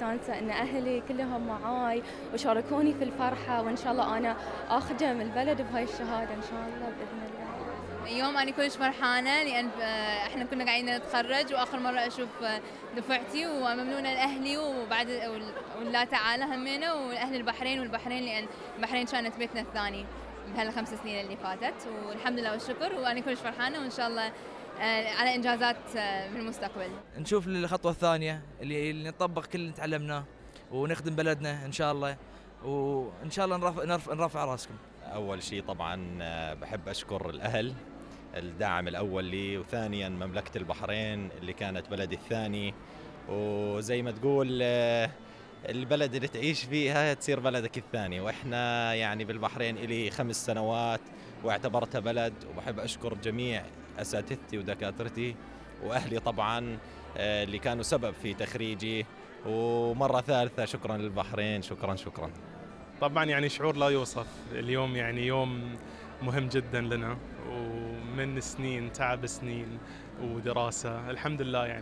مستانسة إن أهلي كلهم معاي وشاركوني في الفرحة، وإن شاء الله أنا أخدم البلد بهاي الشهادة إن شاء الله بإذن الله. اليوم أنا كلش فرحانة لأن إحنا كنا قاعدين نتخرج وآخر مرة أشوف دفعتي، وممنونة لأهلي وبعد والله تعالى همينة وأهل البحرين لأن البحرين كانت بيتنا الثاني بهال5 سنين اللي فاتت، والحمد لله والشكر، وأنا كلش فرحانة وإن شاء الله على إنجازات في المستقبل. نشوف الخطوة الثانية اللي نطبق كل اللي تعلمناه ونخدم بلدنا إن شاء الله، وإن شاء الله نرفع راسكم. أول شيء طبعاً بحب أشكر الأهل، الدعم الأول لي، وثانياً مملكة البحرين اللي كانت بلدي الثاني، وزي ما تقول البلد اللي تعيش فيها تصير بلدك الثاني، وإحنا يعني بالبحرين إلي 5 سنوات واعتبرتها بلد، وبحب أشكر جميع أساتذتي ودكاترتي وأهلي طبعاً اللي كانوا سبب في تخريجي، ومرة ثالثة شكراً للبحرين، شكراً. طبعاً يعني شعور لا يوصف، اليوم يعني يوم مهم جداً لنا، ومن سنين تعب سنين ودراسة، الحمد لله يعني